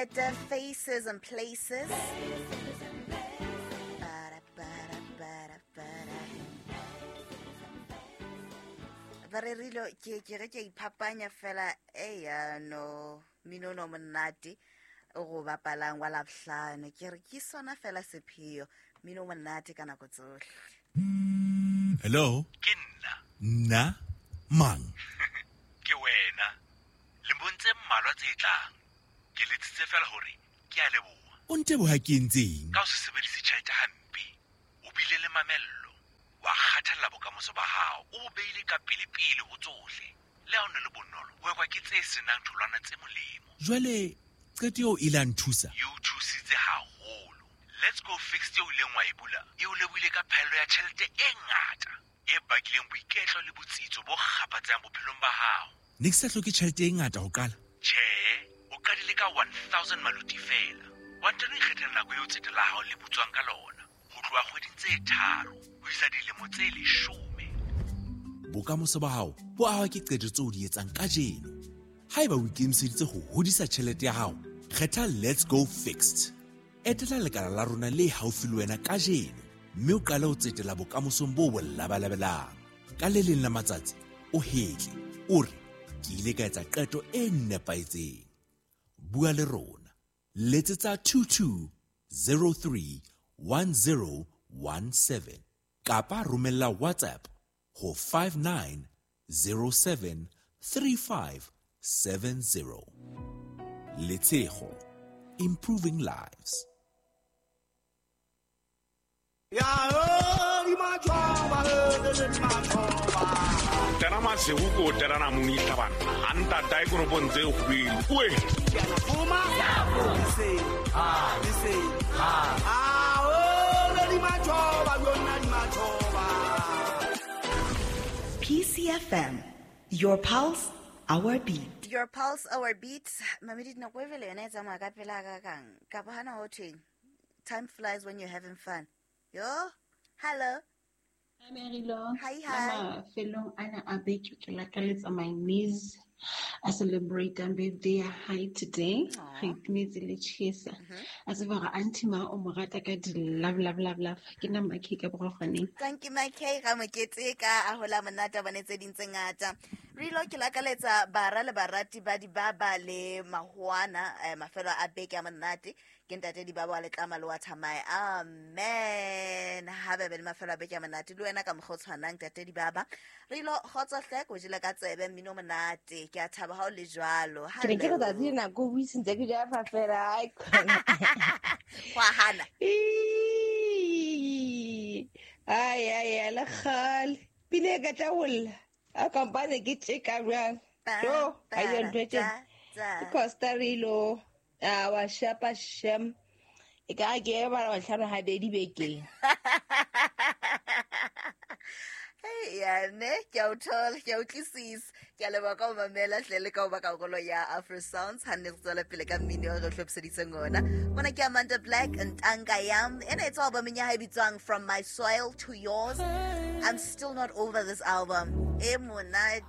At Faces and Places. Para, para, para, para. Ba re rilo ke ge ke a iphapanya fela eya no mmino no monate o go bapalang wa labohlano ke re ke sona fela sepheo mmino o monate ka nako tsohle. Hello? Ke nna. Nna? Mang? Ke wena. Lemong tse mmalwa tse tlang. Ke letsitse fela hore ke a leboha. O nteboha ke entseng? Ka ho se sebedise tjhelete hampe. O bile le mamello. Wa kgathalla bokamoso ba hao. O bo beile ka pele-pele ho tsohle. Le ha o ne le bonolo, ho ekwa ke tse senang tholwana tse molemo. Jwale qeto eo ile a nthusa? E o thusitse haholo. Let's Go Fixed eo ileng wa e bula e o lebohile ka phaello ya tjhelete e ngata e bakileng boiketlo le botsitso bo kgaphatsehang bophelong ba hao. Ne ke sa hloke tjhelete e ngata ho qala? Tjhe, o qadile ka 1000 maluti feela. Wa ntano ikgethela nako eo tsete la hao le butswang ka lona. Ho tloha kgweding tse 3 ho isa dilemo tse 10. Bokamoso ba hao bo ahwa ke qeto tseo o di etsang kajeno. Haeba o ikemiseditse ho hodisa tjhelete ya hao, kgetha Let's Go Fixed. Etela lekala la rona le haufi le wena kajeno mme o qale ho tsetela bokamosong bo bo labalabelang. Ka le leng la matsatsi o hetle, o re ke ile ka etsa qeto e nepahetseng. Bua le rona. Letsetsa 22 03 1017 kapa romella WhatsApp ho 59 07 35 70. Letshego, improving lives. Tena masigo ko terana monitla banna a ntata e koropong tse kgwedi oe. PCFM, your pulse, our beat. Your pulse, our beat. Mamedi, nako e vele yona e tsamaya ka pela kakang. Kapa hana ho thweng? Time flies when you're having fun. Yo, hello. Hi, Marilo. Hi, hi. Mafelong ana a beke ke lakaletsa my niece a celebrate birthday ya hae today. Re itumetse le tjhesa. A tseba hore auntie ma o mo rata ka di love, love, love, love. Ke nna Makhe ka Borokgwaneng. Thank you, Makhe. Ga mokete ka a hola monate a bone tse ding tse ngata. Rilo ke lakaletsa bara le barati ba dibaba le mahoana mafelo a beke a monate. Ke ntate dibaba wa letlama le wa thamae. Amen. Ha be be le mafelo a beke a monate le wena ka mokgwa o tshwanang ntate dibaba. Rilo kgotso hle ko jele ka tsebe mmino monate. Ke a thaba ha o le jwalo. Ke ne ke re tsatsi le nako o buisentse ke ja fa fela, ai khona. Wa hana. Ai ai ai le kgale. Pine e ka tla ho lla. A kampane ke tjeka jwang. Jo, a yo ntho e tjena. Ke Costa Rilo. A wa shapa shem. E ka ke e bala bahlano habedi bekeng. Hey, ya ne, ke a o thola, ke a utlwisisa. Ke a leboha ka ho mamela hle le ka ho ba karolo ya Afro Sounds. Ha nne re tswela pele ka mmino o re hlophiseditseng ona. Mona ke Amanda Black, Ntanga Yam. Ena e tswa albumeng ya hae e bitswang From My Soil to Yours. I'm still not over this album. E monate.